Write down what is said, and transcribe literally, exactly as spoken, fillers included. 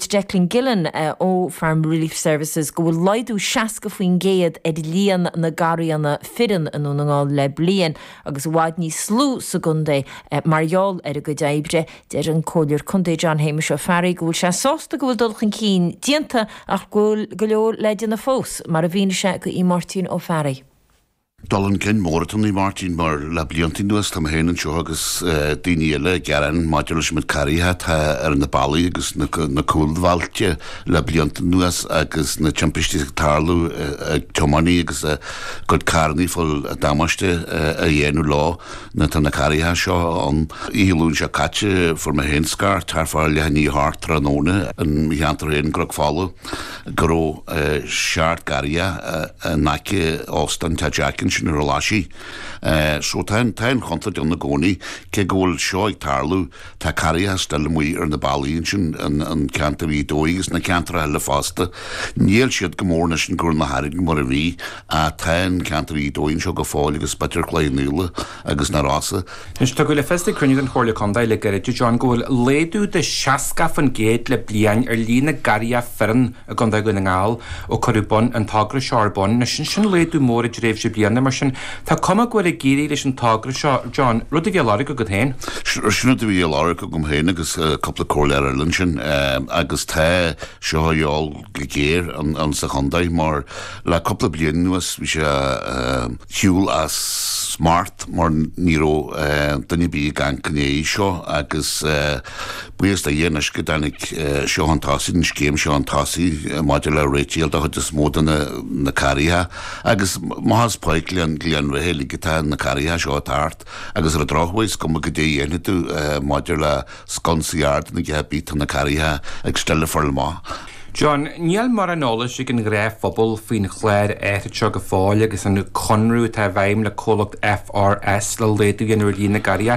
Dúirt Declan Gillen uh, ó Farm Relief Services go bhfuil laghdú seasca faoin gcéad ar líon na garraíonna fireann i nDún na nGall le bliain agus i bhfad níos lú sa gcontae uh, mar gheall ar a gcuid oibre deir an Comhairleoir Contae John Shéamuis Ó Fearraigh go bhfuil sé sásta go bhfuil dul chun cinn déanta ach go bhfuil go leor le déanamh fós mar a mhínigh sé do Mháirtín Ó Fearraigh. Dul chun cinn mór atá ann Martin mar le blianta anuas tá mé anseo agus daoine eile ag gearán maidir leis na garraithe atá ar na bealaí agus na cúlbhailte le blianta anuas agus na timpistí ag tarlú ag tiománaithe agus go carranna fuil damáiste a dhéanamh leo na tá na garraithe seo an Luan seo caite fuair mé féin scairt thart fá leath i ndiaidh a hocht tráthnóna i mo cheantar féin i gCnoc Fola go raibh seacht garraithe in aice óstán Teach sin ar láisí. So tá tá an chontúirt ann i gcónaí cé go bhfuil seo ag tarlú tá garraithe still amuigh ar na bealaí sin an ceantar í dóigh agus na ceantar eile fosta. Níl siad go mór leis an gur na hair mar a bhí a tá an ceantar í dóigh seo go fóill agus b'fhéidir Cloich Cheann Fhaola agus na Rosa. Anois tugadh le fios ag cruinniú den Chomhairle Contae le gairid John go bhfuil laghdú de seasca faoin gcéad le bliain ar líon na garraithe fireann i gContae Dhún na nGall ó cuireadh bun an togra seo ar bun, sin sin laghdú mór i dtréimhse bliana mar sin Tá cuma go bhfuil ag éirí leis an togra seo John rud a bhí á lorg agat féin. Sin a bhí á lorg agam féin agus cúpla comhairleoir eile sin agus tá seo eol go géar an, an sa chontae mar le cúpla bliain anuas bhí sé siúl as smacht mar ní raibh duine bí gan gné seo agus buíochas do Dhia anois go dtáinig seo chun tosaigh an scéim seo chun tosaigh maidir le réiteach do chuid is mó de na, na garraithe agus más páic le an rithil atá na garraithe seo tart agus ar an drochuair is cuma goidé a dhéanfaidh tú maidir le sconsaí ard na gceapí tá na garraithe ag still ag fáil amach. John, níl mórán eolais ag an ngnáthphobal faoin chlár áithrid seo go fóill agus an conradh atá i bhfeidhm le comhlacht FRS le laghdú ar líon na garraithe.